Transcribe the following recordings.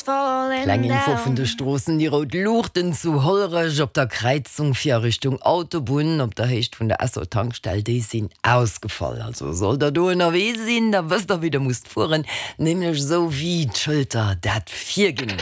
Kleng Info vun de Stroossen, Déi rout Luuchten zu Hollerech op der Kräizung fir a Richtung Autobunn op der Héicht vun der Esso-Tankstell, déi sinn ausgefall. Also sollt der do ënnerwee sinn, da wësst der wéi der musst fueren, nämlech esou wéi d'Schëlter dat virginn.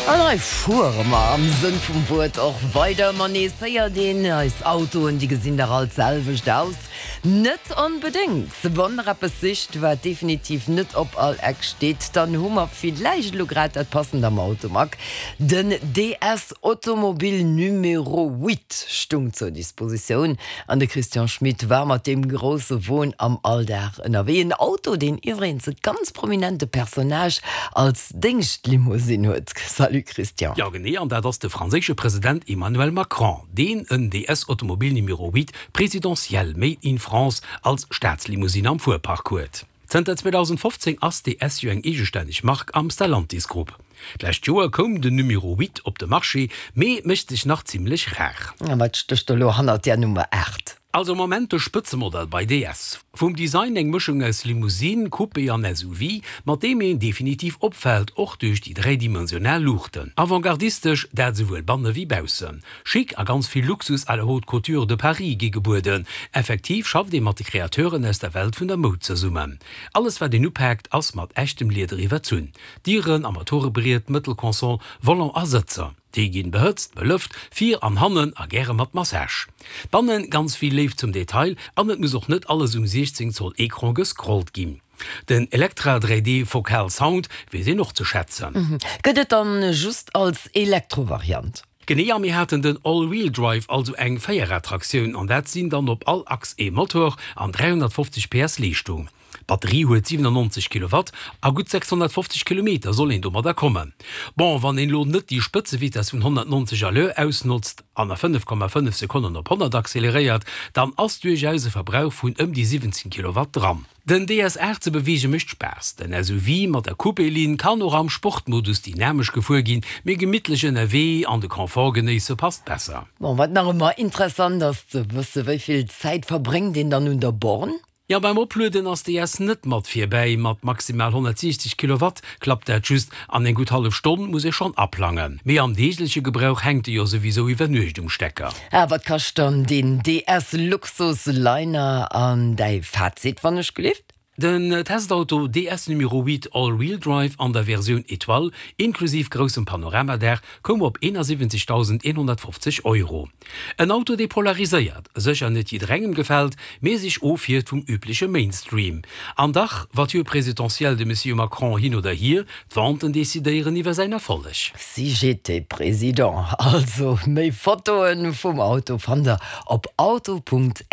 An hei fuere mer am Sënn vum Wuert och weider. Ma nees héiert een, eis Autoen, déi gesinn dach all d'selwecht aus. Net onbedéngt! Wann der eppes sicht, wat definitiv net op all Eck steet, dann hu mer villäicht elo grad dat passend am Automag. Den DS Automobile Numéro 8 stung zur Dispositioun an de Christian Schmit war mat deem grousse Won am Alldag ënnerwee. En Auto, deen iwwregens e ganz prominente Personnage als Déngschtlimousine huet. Salut Christian. Jo genee, an dat ass de franséische President Emmanuel Macron, deen en DS Automobile Numéro 8 Présidentiel made in France als Staatslimousine am Fuerpark huet. Zënter 2015 ass DS jo eng eegestänneg Mark am Stellantis Grupp. D'lescht Joer koum den Numéro 8 op de Marché, mee mécht sech nach zimmlech rar. A wat stécht elo hannert där Nummer 8? Also am Moment de Spëtzemodell bei DS. Vum Design eng Mëschung aus Limousine, Coupé an SUV, mat deem een definitiv opfält, och duerch déi dräidimensional Luuchten. Avantgardistesch, dat esouwuel banne wéi baussen. Chic a ganz vill Luxus à la haute couture de Paris gi gebueden. Effektiv schafft ee mat de Kreateuren aus der Welt vun der Moud zesummen. Alles wat een upaakt ass mat echtem Lieder iwwerzunn, Dieren, Armaturebriet, Mëttelconsole, Volant a Sëtzer. Déi ginn behëtzt, belëft, vir an hannen a gäre mat Massage. Bannen ganz vill Léift zum Detail an et muss och net alles um 16 Zoll Ecran gescrollt ginn. Den Electra 3D Focal Sound weess een och ze schätzen. Gëtt et dann just als Elektro-Variant? Genee, a mir haten den All-Wheel Drive, also eng Véierrad-Traktioun an dat sinn dann op all Achs ee Motor an 350 PS Leeschtung. D'Batterie huet 97 Kilowatt a gutt 650 Kilometer soll een domadder kommen. Bon, wann een elo net déi Spëtzevitess vun 190 à l'heure ausnotzt an a 5,5 Sekonnen op 100 acceleréiert, dann ass duerchaus e Verbrauch vun ëm déi 17 Kilowatt dran. Den DS 8 ze beweege mécht Spaass. Den SUV mat der Coupé-Linn kann och am Sportmodus dynamesch gefuer ginn, mee gemittlech ënnerwee an de Confort genéisse passt besser. Bon, wat nach ëmmer interessant ass ze wësse, wéi vill Zäit verbréngt een dann un der Born? Jo, beim Oplueden ass DS net mat virbäi. Mat maximal 160 Kilowatt klappt dat just an eng gutt hallef Stonn muss ee schonn aplangen. Mee am deegleche Gebrauch hänkt e jo souwisou iwwer Nuecht um Stecker. A wat kascht dann deen DS Luxus Liner an däi Fazit wann ech gelift? Den Testauto DS Numéro 8 All Wheel Drive an der Versioun Etoile, inklusiv groussem Panoramadaach, koum op 71.150 Euro. En Auto dee polariséiert, sécher net jidderengem gefält, mee sech ofhieft vum übleche Mainstream. An dach, Voiture présidentielle de Monsieur Macron hin oder hier, d'Venten decidéieren iwwer säin Erfolleg. Si j'étais président. Also méi Fotoen vum Auto fannt der op auto.rtl.lu.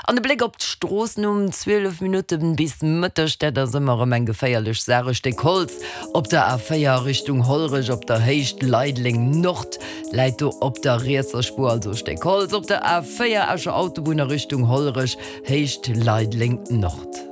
An e Bléck op d'Stroossen um 12 Minutten bis Mëtteg, dat ass ëmmer erëm eng geféierlech Saach, e Stéck Holz Op der A4 a Richtung Hollerech op der Héicht Leideleng Nord läit do op der rietser Spuer also e Stéck Holz. Op der A4 Escher Autobunn a Richtung Hollerech, Héicht Leideleng Nord.